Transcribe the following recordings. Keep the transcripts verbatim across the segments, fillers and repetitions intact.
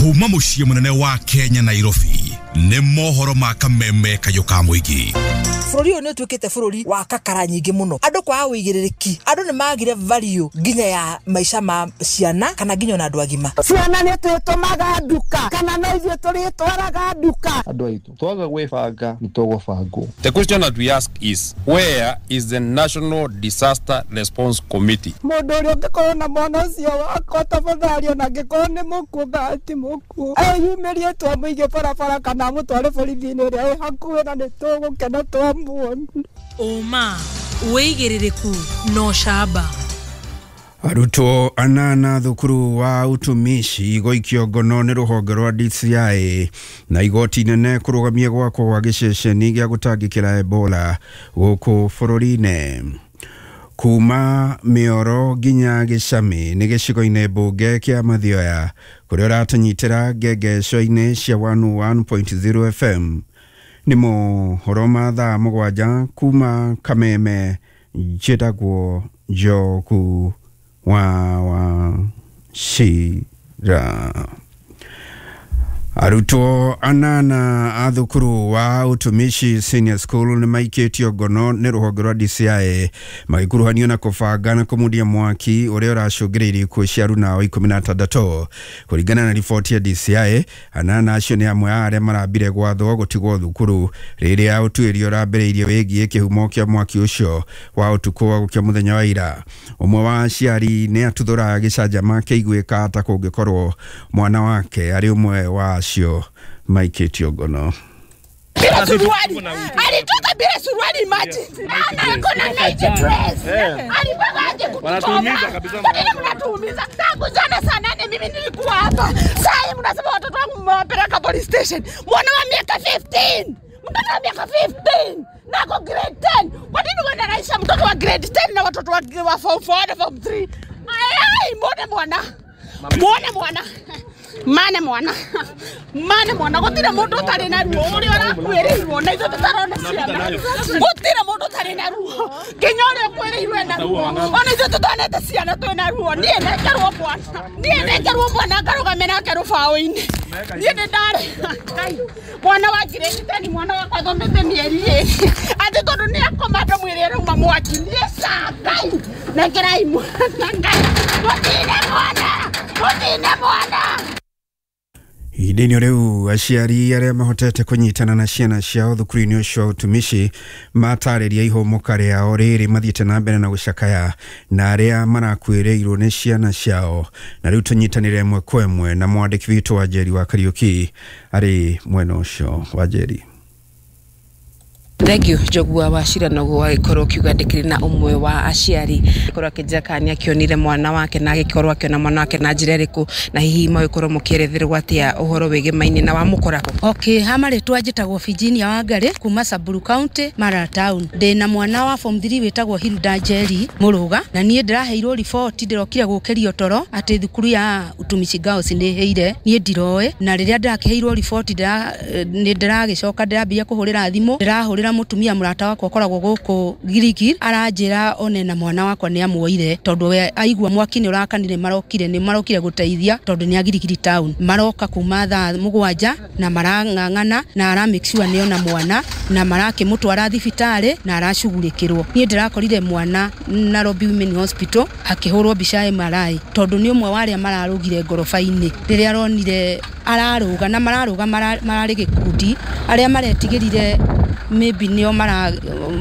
Kuma mũciĩ mũnene wa Kenya, Nairobi, nĩ mohoro ma kameme kayũ ka mũingĩ. Bũrũri ũyũ nĩ ũtuĩkĩte bũrũri wa kakara nyingĩ mũno, andũ kwaga ũigĩrĩrĩki, andũ nĩ magire value nginya ya maica ma ciana kana nginya ona andũ agima. Ciana nĩ twĩtũmaga nduka kana no ithuĩ tũrĩtwaraga nduka? Andũ aitũ, twaga gwĩbanga nĩ tũgũbangwo. The question that we ask is, where is the National Disaster Response Committee? Mũndũ ũrĩa ũngĩkorwo na mwana ũcio wakwa, tafadhali, ona angĩkorwo nĩ mũkuũ kana ti mũkuũ, eyumĩrie twamũige barabara kana amũtware borithi-inĩ ĩrĩa ĩ hakuhĩ, na nĩ tũgũkena twamuona. Ũma, wĩigĩrĩrĩku na ũcamba. Arutwo anana thukuru wa utumishi gũikio ngono nĩ rũhonge rwa D C I, na igoti inene kũrũgamia gwakwo gwa gĩceceni gĩa gũtangĩkĩra Ebola gũkũ bũrũri-inĩ. Kuma Mĩoro nginya Gĩcamĩ nĩ gĩcigo-inĩ mbunge kĩa Mathioya, kũrĩa ũratũnyitĩra ngengeco-inĩ cia one oh one point zero F M. Nĩ mohoro ma thaa mũgwanja kuma Kameme. Njĩtagwo Njogu wa Wachira. Arutwo anana a thukuru wa Utumishi Senior School nĩ maikĩtio ngono nĩ rũhonge rwa D C I magĩkuruhanio na kũbanga na kũmundia mwaki ũrĩa ũracũngĩrĩirie ikuũ cia aruna ikũmi na atandatũ. Kũringana na riboti ya D C I, anana acio nĩ amwe a arĩa marambire gwathwo gũtigwo thukuru rĩrĩa ũtuĩria ũrambĩrĩirie wĩgiĩ kĩhumo kĩa mwaki ũcio wa ũtukũ wa gũkĩa mũthenya wa ira. Ũmwe wa aciari nĩ atuthũra gĩcanjama kĩiguĩka ta kũngĩkorwo mwana wake arĩ ũmwe wa acio maikĩtio ngono. Bila suruali, alitoka bila suruali, imagine. Ana ako na night dress. Alipanga aje kutuchoma? Kwa nini mnatuumiza? Tangu jana saa nane mimi nilikuwa hapa. Saa hii mnasema watoto wangu mmewapeleka police station. Mwana wa miaka kumi na tano. Mtoto wa miaka kumi na tano na ako grade ten. Kwa nini wanaraisha mtoto wa grade ten na watoto wa, wa form four na form three? Ai, mbona mwana? Mbona mwana? Mane mwana, mane mwana, gutire mundu utari na ruo uria urakuirirwo na ithuĩ tũtarona ciana. Gutire mundu utari na ruo, nginya ũrĩa ũkwĩrĩirwo ena ruo, ona ithuĩ tũtonete ciana twĩna ruo. Niĩ nengerwo mwana, niĩ nengerwo mwana ngarũgame nake rũbaũ-inĩ. Niĩ nĩ ndarĩ Ngai, mwana wa grade ten, mwana wakwa thomete mĩeri ĩrĩ, atĩ tondũ nĩ akoma ndamwĩre arauma mwaki. Niĩ ca Ngai, nengerai mwana, Ngai, mũtine mwana, mũtine mwana. Ihinda-inĩ rĩu, aciari arĩa mahotete kũnyitana na ciana ciao thukuru-inĩ ũcio wa utumishi matarĩria ihũmũka rĩao rĩrĩ mathiĩte na mbere na gũcakaya na arĩa marakuĩrĩirwo nĩ ciana ciao. Na rĩu tũnyitanĩre ĩmwe kwa ĩmwe na mwandĩki witũ wa Njeri wa Kariũki arĩ mwena ũcio wa Njeri. Thank you, Njogua wa Cira. Noguo wagĩkorwo ũkiuga ndĩkĩrĩ na ũmwe wa aciari korwo akĩnjĩra kana nĩ akĩonire mwana wake na agĩkorwo akĩona mwana wake na njĩra ĩrĩkũ, na hihi magĩkorwo mũkĩeretherwo atĩa ũhoro wĩgĩmaine na wamũkora kũ? Okay, ha marĩtwa njĩtagwo Virginia Wangari kuma Samburu County, Mara Town. Ndĩna mwana wa form three wĩtagwo Hilda Njeri Mũrũga, na niĩ ndĩraheirwo riboti ndĩrokire gũkĩrio toro atĩ thukuru ya Utumishi Girls nĩ ĩhĩire. Niĩ ndiroĩ, na rĩrĩa ndĩrakĩheirwo riboti nĩ ndĩragĩcoka ndĩrambia kũhũrĩra thimũ, ndĩrahũrĩra mũtumia mũrata wakwa ũkoragwo gũkũ Gilgil, aranjĩra one na mwana wakwa nĩ amuoire, tondũ we aigua mwaki nĩ ũrakanire marokire nĩ marokire gũteithia, tondũ nĩ a Gilgil Town maroka kuma thaa mũgwanja na marang'ang'ana na ara make sure nĩona mwana na marakĩmũtwara thibitarĩ na aracugurĩkĩrwo. Niĩ ndĩrakorire mwana Nairobi Women Hospital akĩhũrwo mbica M R I, tondũ nĩ ũmwe wa arĩa mararũgire ngoroba-inĩ rĩrĩa aronire ararũga na mararũga mararĩ gĩkundi arĩa maretigĩrire, maybe nĩo mara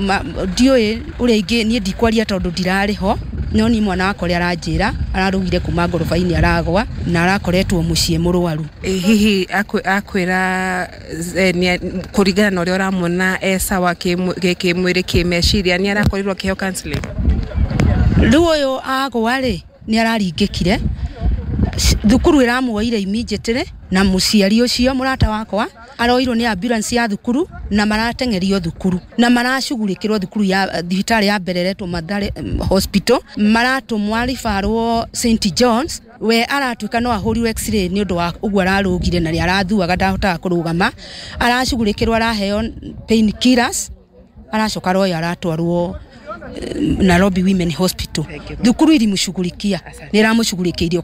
ma, ndiũĩ ũrĩa ingĩ. Niĩ ndikwaria tondũ ndirarĩ ho, no ni mwana wakwa ũrĩa aranjĩra ararũgire kuma ngoroba-inĩ aragwa na arakoretwo mũciĩ mũrwaru. Hihi akwĩra kũringana na ũrĩa ũramuona e sawa kĩmwĩrĩ, kĩmeciria, nĩ arakorirwo akĩheo counseling? Rĩu ũyũ agwa rĩ, nĩ araringĩkire, thukuru ĩramuoire immediately, na mũciari ũcio mũrata wakwa aroirwo nĩ ambulance ya thukuru na marateng'erio thukuru na maracugurĩkĩrwo thukuru ya thibitarĩ ya mbere ĩretwo Mathare Hospital, maratũmwo ribarwo Saint John's. We aratuĩka no ahũrirwo x-ray nĩ ũndũ wa ũguo ararũgire na nĩ arathuaga, ndahotaga kũrũgama, aracugurĩkĩrwo, araheo pain killers, aracoka aroyo aratwarwo Nairobi Women Hospital. Thukuru irimũshughulikia, nĩ ĩramũshughulikĩirie.